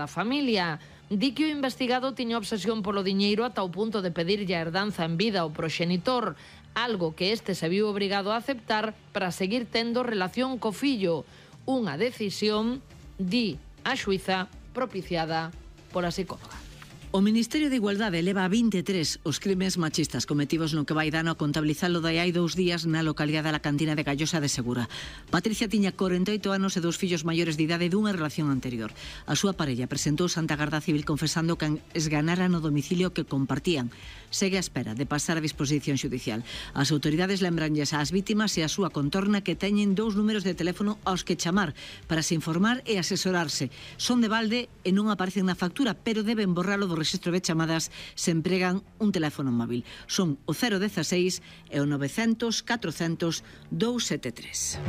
da familia. Di que o investigado tiña obsesión polo diñeiro ata o punto de pedirlle a herdanza en vida ao proxenitor, algo que este se viu obrigado a aceptar para seguir tendo relación co fillo. Unha decisión, di a xuíza, propiciada pola psicóloga. O Ministerio de Igualdade leva a 23 os crimes machistas cometidos no que vai dano a contabilizalo de hai 2 días na localidade da Cantina de Gallosa de Segura. Patricia tiña 48 anos e 2 fillos maiores de idade dunha relación anterior. A súa parella presentou ante a Garda Civil confesando que esganara no domicilio que compartían. Segue a espera de pasar a disposición xudicial. As autoridades lembranlles ás vítimas e a súa contorna que teñen 2 números de teléfono aos que chamar para se informar e asesorarse. Son de balde e non aparecen na factura, pero deben borralo do registro de chamadas se empregan un teléfono móvil. Son o 016 e o 900 400 273.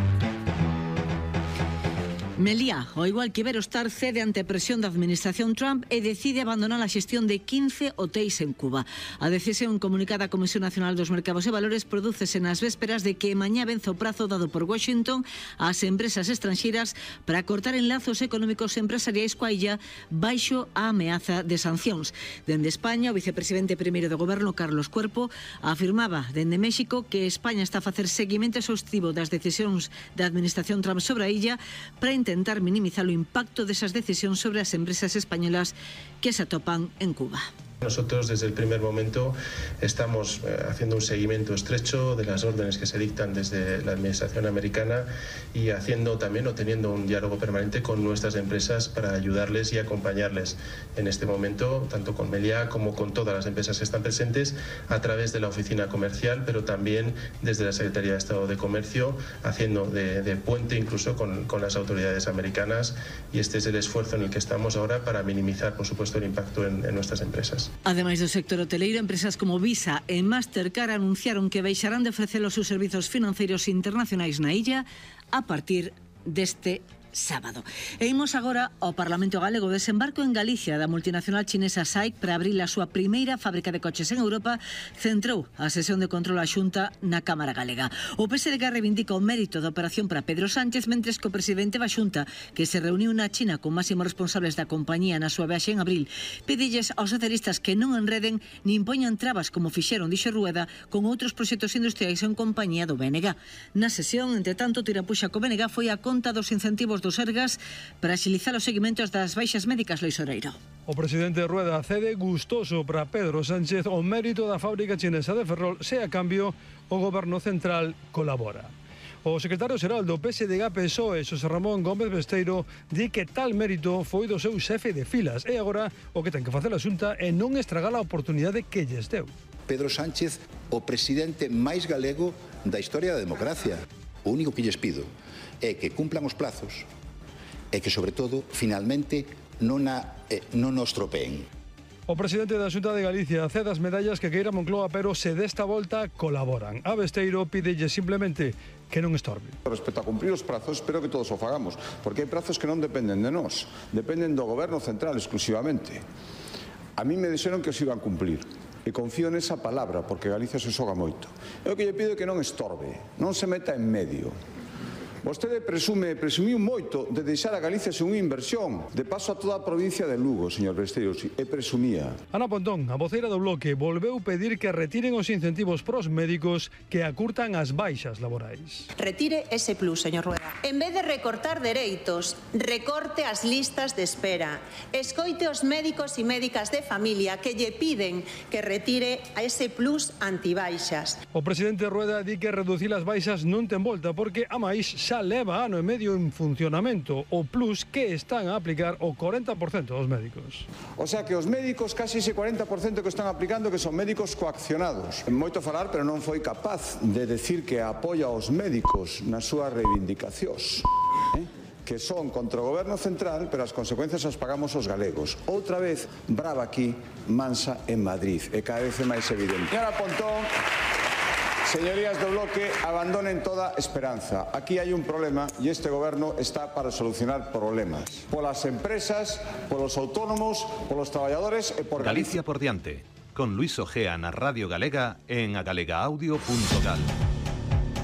Meliá, ao igual que Iberostar, cede ante a presión da administración Trump e decide abandonar a xestión de 15 hotéis en Cuba. A decisión comunicada á Comisión Nacional dos Mercados e Valores prodúcese nas vésperas de que mañá vence o prazo dado por Washington ás empresas estranxeiras para cortar enlazos económicos e empresariais coa illa baixo a ameaza de sancións. Dende España, o vicepresidente primeiro do goberno, Carlos Cuerpo, afirmaba dende México que España está a facer seguimento exhaustivo das decisións da administración Trump sobre a illa para intentar minimizar o impacto desas decisións sobre as empresas españolas que se atopan en Cuba. Nosotros desde el primer momento estamos haciendo un seguimiento estrecho de las órdenes que se dictan desde la administración americana y haciendo también o teniendo un diálogo permanente con nuestras empresas para ayudarles y acompañarles en este momento, tanto con Meliá como con todas las empresas que están presentes a través de la oficina comercial, pero también desde la Secretaría de Estado de Comercio, haciendo de puente incluso con las autoridades americanas, y este es el esfuerzo en el que estamos ahora para minimizar, por supuesto, el impacto en nuestras empresas. Ademais do sector hoteleiro, empresas como Visa e Mastercard anunciaron que deixarán de ofrecer os seus servizos financeiros internacionais na illa a partir deste sábado. E imos agora ao Parlamento Galego. Desembarco en Galicia da multinacional chinesa SAIC para abrir a súa primeira fábrica de coches en Europa centrou a sesión de control á Xunta na Cámara Galega. O PSDG reivindica o mérito da operación para Pedro Sánchez, mentres que o presidente da Xunta, que se reuniu na China con máximos responsables da compañía na súa viaxe en abril, pedilles aos socialistas que non enreden nin poñan trabas como fixeron, dixo Rueda, con outros proxectos industriais en compañía do BNG. Na sesión, entre tanto, tirapuxa co BNG foi a conta dos incentivos dos Sergas para axilizar os seguimentos das baixas médicas. Lois Oreiro. O presidente Rueda cede gustoso para Pedro Sánchez o mérito da fábrica chinesa de Ferrol, se a cambio o goberno central colabora. O secretario xeral do PSDG-PSOE, Xosé Ramón Gómez Besteiro, di que tal mérito foi do seu xefe de filas e agora o que ten que facer a Xunta é non estragar a oportunidade que lles deu. Pedro Sánchez, o presidente máis galego da historia da democracia. O único que lles pido é que cumplan os plazos e que, sobre todo, finalmente non nos tropeen. O presidente da Xunta de Galicia cede as medallas que queira Moncloa, pero se desta volta colaboran. A Besteiro pídelle simplemente que non estorbe. Respecto a cumprir os prazos, espero que todos o fagamos, porque hai prazos que non dependen de nós, dependen do goberno central exclusivamente. A mí me dixeron que os iban cumplir, e confío nesa palabra, porque Galicia se xoga moito. Eu que lle pido que non estorbe, non se meta en medio. Vostede presumiu moito de deixar a Galicia sen unha inversión, de paso a toda a provincia de Lugo, señor Besteiro, e presumía. Ana Pontón, a voceira do Bloque, volveu pedir que retiren os incentivos pros médicos que acurtan as baixas laborais. Retire ese plus, señor Rueda. En vez de recortar dereitos, recorte as listas de espera. Escoite os médicos e médicas de familia que lle piden que retire a ese plus antibaixas. O presidente Rueda di que reducir as baixas non ten volta, porque a máis xa leva ano e medio en funcionamento o plus que están a aplicar o 40% dos médicos. O sea que os médicos, casi ese 40% que están aplicando, que son médicos coaccionados. Moito falar, pero non foi capaz de decir que apoia aos médicos nas súas reivindicacións, que son contra o goberno central, pero as consecuencias as pagamos os galegos. Outra vez, brava aquí, mansa en Madrid, e cada vez é máis evidente. Señora Pontón, señorías do Bloque, abandonen toda esperanza. Aquí hai un problema e este goberno está para solucionar problemas. Polas empresas, polos autónomos, polos traballadores e por Galicia por diante, con Luis Ojea na Radio Galega en agalegaudio.gal.